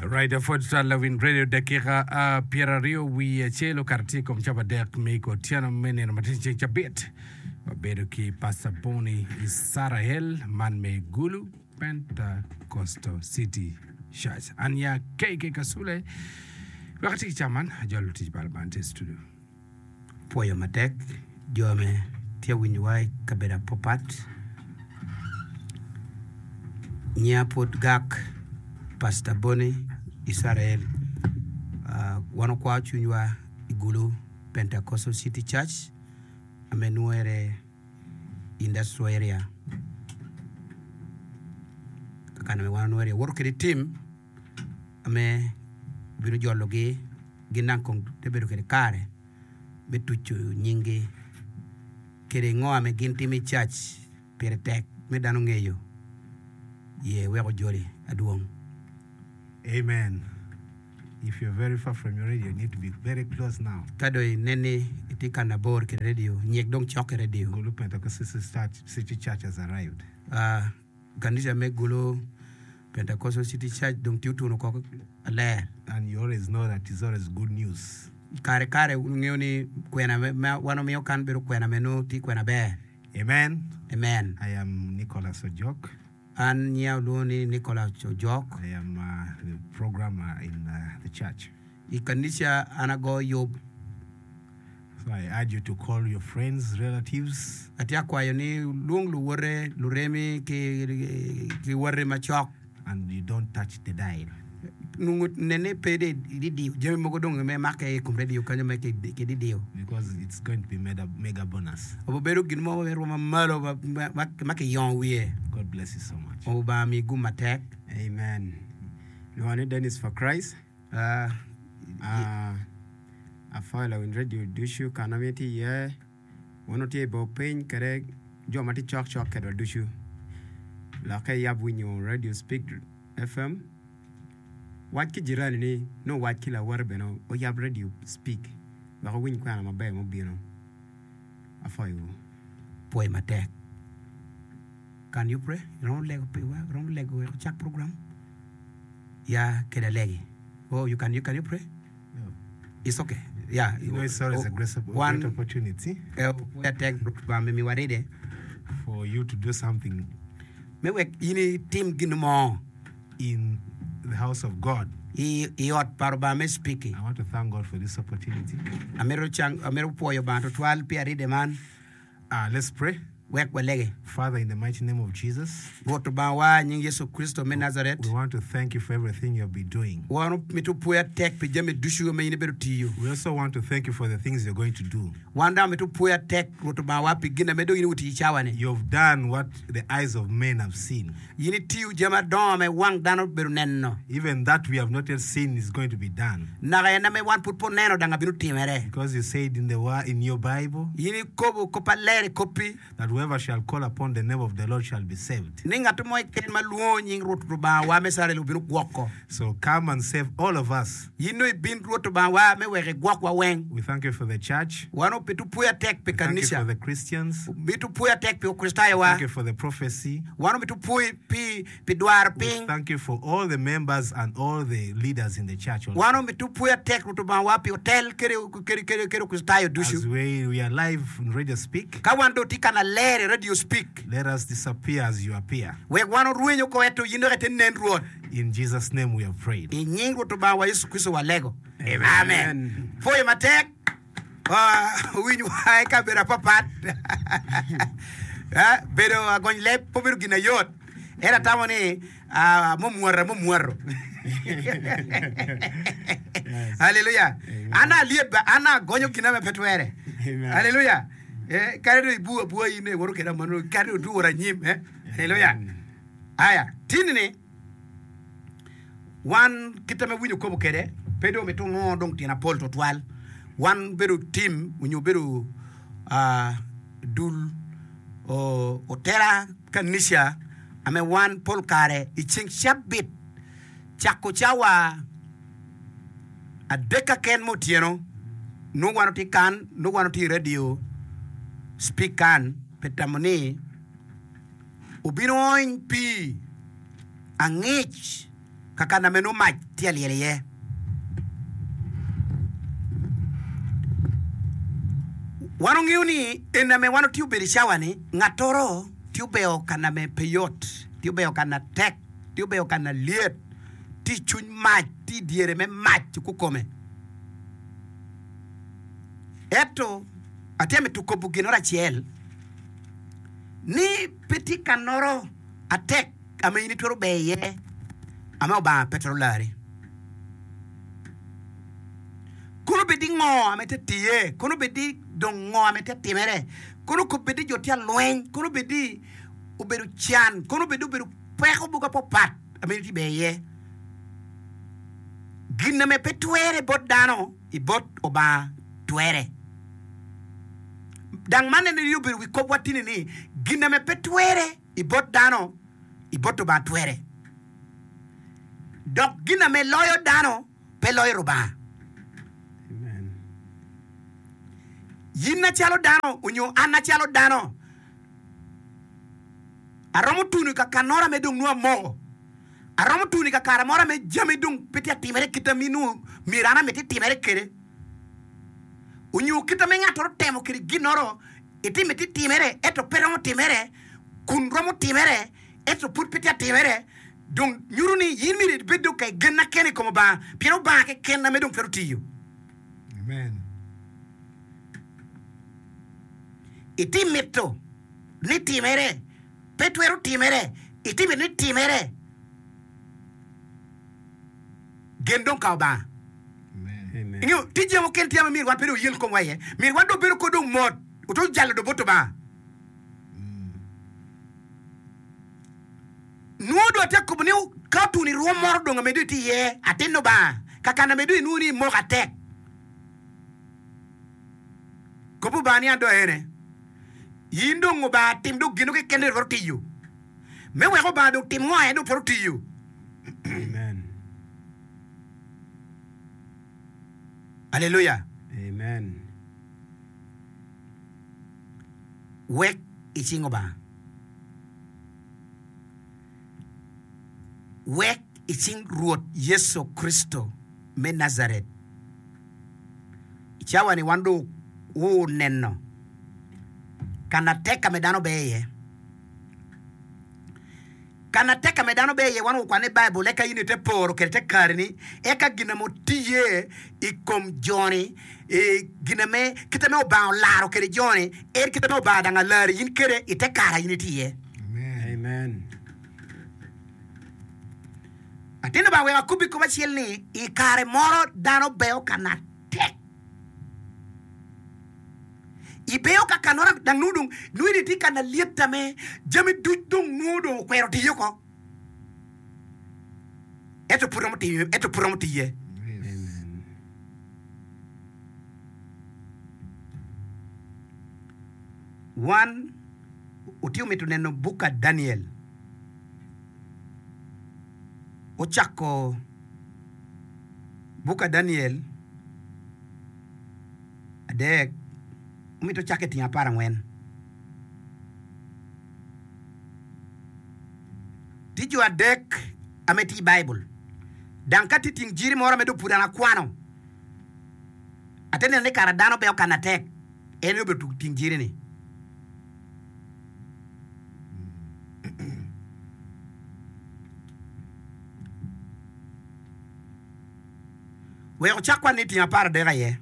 Right, apwod twal lawiny radio dakika pyeraryo wiye acel okato tye i kom capadek me otyeno me nino ma tye ceng cabit. Wabedo ki Pastor Bonnie Isarael man me Gulu Pentecostal City Church. An ya KK Kasule. Wek atye ki caman ajolo tic pa Lubanga tye i studio. Pwoyo matek jo me tye winyowa i kabedo apapat. Nyinga pwod gak Pastor Bonnie Isarael. Wan wakwao cwinywa i Gulu Pentecostal City Church ame nwere Industrial Area kakana me wan wanwere iye. Woto kede tim ame bino jologi gin dang kong te bedo kede kare me tuco nyinggi kede ngo ame gin timo i cac pire tek me dano ngeyo ye wek ojoli adwong. Amen if you're very far from your radio you need to be very close now. Ka dong inen ni itye ka nabor ki radio, nyik dong cok ki radio. Gulu Pentecostal City Church has arrived. Ah, Kanica me Gulu Pentecostal City Church dong tye otuno koko aler. And you always know that it's always good news. Kare kare wun wungeyo ni kwena ma wan wamiyo kan bedo kwena me nongo tye kwena ber. Amen. Amen. I am Nicholas Ojok. An nyinga olwongo ni Nicholas Ojok. I am the programmer in the church. I kanica an agoyo yub. So I urge you to call your friends, relatives. Atye akwayo ni wulwong luwote, luremi ki wati macok. And you don't touch the dial. Nongo nene pe dong ididiyo jami mogo dong me make i kom radio kanyo me kididiyo. Because it's going to be mega, mega bonus. Obedo gin mo me rwom mamalo ma kiyongo wiye. God bless you so much. Lubanga omi gum matek. Amen. Lwonga ni Dennis for Christ. Apwoyo lawiny redio ducu ka ma itye iye, wun wutye i bor piny kwede jo ma tye cokcok kwedwa ducu. Lokke iyab winyo redio Speak FM. Wac ki jirani ni nongo owac ki lawote bene oyab redio Speak wek owiny kwena maber ma obino. Apwoyowu. Pwoyo matek. Can you pray? Iromo lego piwa? Iromo lego wek ocak program? Ya kede alegi. Oh, you can, you can you pray? No. It's okay. Yeah. You know, it's always a great, a Wan- great opportunity Eh, pwoya tek Lubanga me miwa ride for you to do something me wek in itim gin mo in the house of God. i, i ot pa Lubanga me spiki. I want to thank God for this opportunity. Amito cang, amito pwoyo Lubanga tutwal pi aride man. Ah, let's pray. Wek walege. Father, in the mighty name of Jesus, Rwot Lubangawa, i nying Yecu Kricito me Nazaret, we want to thank you for everything you have been doing. wan mito pwoya tek pi jami ducu ma in ibedo tiyo. We also want to thank you for the things you're going to do. Wan dok mito pwoya tek, Rwot Lubangawa, pi gin ame dong in iwitiyo i cawa-ni. You have done what the eyes of men have seen. In itiyo jami adongo ma wang dano obedo neno. Even that we have not yet seen is going to be done. Naka en ame wan pud pe oneno dang abino timere. Because you said in the word, in your Bible. In ikobo kop aler i koppi. That whoever shall call upon the name of the Lord shall be saved. Ni ngat mo keken ma lwongo nying Rwot Lubangawa me Icrael obino gwoko. So come and save all of us. In dong ibin Rwot Lubangawa me wek igwokwa weng. We thank you for the church. Wan omito pwoya tek pi We thank you kanica. for the Christians. Omito pwoya tek pi We Lukricitayowa. thank you for the prophecy. Wan omito pwoyi pi pi dwaro We piny. thank you for all the members and all the leaders in the church Wan also. omito pwoya tek Rwot Lubangawa pi otel kede kede kede kede Lukricitayo As ducu. we, we are live in Radio Speak, Ka wan dong tye ka naler i Radio Speak, let us disappear as you appear. wek wan orweny oko ento in dok ite nen Rwot. In Jesus name we have prayed. I nying Rwot Lubangawa Yecu Kricito walego. Amen. Pwoyo matek. Wuwiny wa i kabedo apapat. Eh, Bedo agony leb pe obedo gin ayot. Ento atamo ni ah, mumwoto mumwoto. Haleluya. An alyeb ba, an agonyo gina ma pe twere. Amen. Haleluya. Eh, kadi dong ibu abua in iwoto keda mano, kadi dong oduworo anyim. Eh? Haleluya. Aya, tini-ni Wan kite me winyo kobo kwede pe dong mito nongo dong tyen apol twatwal. Wan bedo tim onyo bedo dul otela kanica ame wan pol kare i ceng cabit cako cawa adek kaken me otyeno nongo wan watye kan nongo wan watye i radio speak kan pi tamo ni obino ony pii. Angec. Kakana me nongo mac tye ka lyel iye. Wan ongeyo ni eni ame wan otye obedo i cawa-ni, ngattoro tye obeyo kana me pe yot, tye obeyo kana tek, tye obeyo kana lyet, tye i cwiny mac, tye i dyere me mac kikome. Ento atye mito kobo ginoro acel, ni pe tye kanoro atek ame in itwero ber iye ame Obanga pe twero lari. Kono bed ni ngo ame te tiye, kono bed ni dong ngo ame te timere, kono bed ni jo tye alweny, kono bed ni obedo can, kono bed ni obedo peko mogo apapat ame in itye ber iye. Gin ame pe twere bot dano i bot Obanga twere. Dang man en aye obedo wi kopwa tini ni gin ame pe twere i bot dano, i bot Lubanga twere. Dok gin ame loyo dano pe loyo Lubanga. Yin acalo dano onyo an acalo dano, aromo tuno i kakanora ame dong nongo amoko. Aromo tuno i kakare moro ame jami dong pe tye atimere kit ame nongo myero an amiti timere kwede. Onyo kit ame ngat-toro temo kwede ginnoro Itime ti timere ento pe romo timere, kun romo timere ento pud pe tye atimere, dong nyuto ni in myero ibed dong ka igenna kene i kom Obanga, pien Obanga keken ame dong twero tiyo. Amen. Iti mito ni timere, pe twero timere, iti mito ni timere, gen dong ka Obanga. Amen. Ingeyo, tye jami mukene tye ma myero wan pe dong oyel komwa iye. Myero wan dong obedo kod dong mot, oto jalo dong bot Lubanga. Nwo dong atye ka kobo ni ka otuni rwom moro dong amedo itye iye, atin Lubanga, kakana amedo inwo ni imoko atek. Kop Lubanga ni an dong aene. In dong Lubanga tim dong gin keken dong itwero tiyo. Me wek Lubanga dong tim ngo en dong twero tiyo. Amen. Aleluya! Amen. Wek i cing Obanga. Wek i cing Rwot Yecu Kricito me Najaret. I cawa-ni wan dong wuneno ka na tek ka me dano ber iye. Ka na tek ka me dano ber iye, wan wukwano i Baibul eka in ite poro kwede te kareni, eka gin ame otiye i kom joni, gin ame kite ame Obanga olaro kwede joni, en kite ame Obanga dang alari in kwede i te kare a in itye iye. Amen. Atin Lubanga wek akobbi kop acel ni, i kare moro dano beo ka na tek. Ibeyo ka kanora dang nongo dong nongo in itye ka na lyet ame jami duc dong nongo dong okwero tiyo oko. Ento pud romo tiyo, ento pud romo tiye. Wan otye mito neno buk ka Daniel ocako buk ka Daniel. Adek, omito cakke tyeng aparangwen. Tye jo adek ame tye i Baibul, dang ka tye tyeng jiri moro ame dong pud an akwano, ate neno ni kara dano beo kana tek, en aye obedo tyeng jiri-ni. Wek ocak kwan ni tyeng aparadek aye.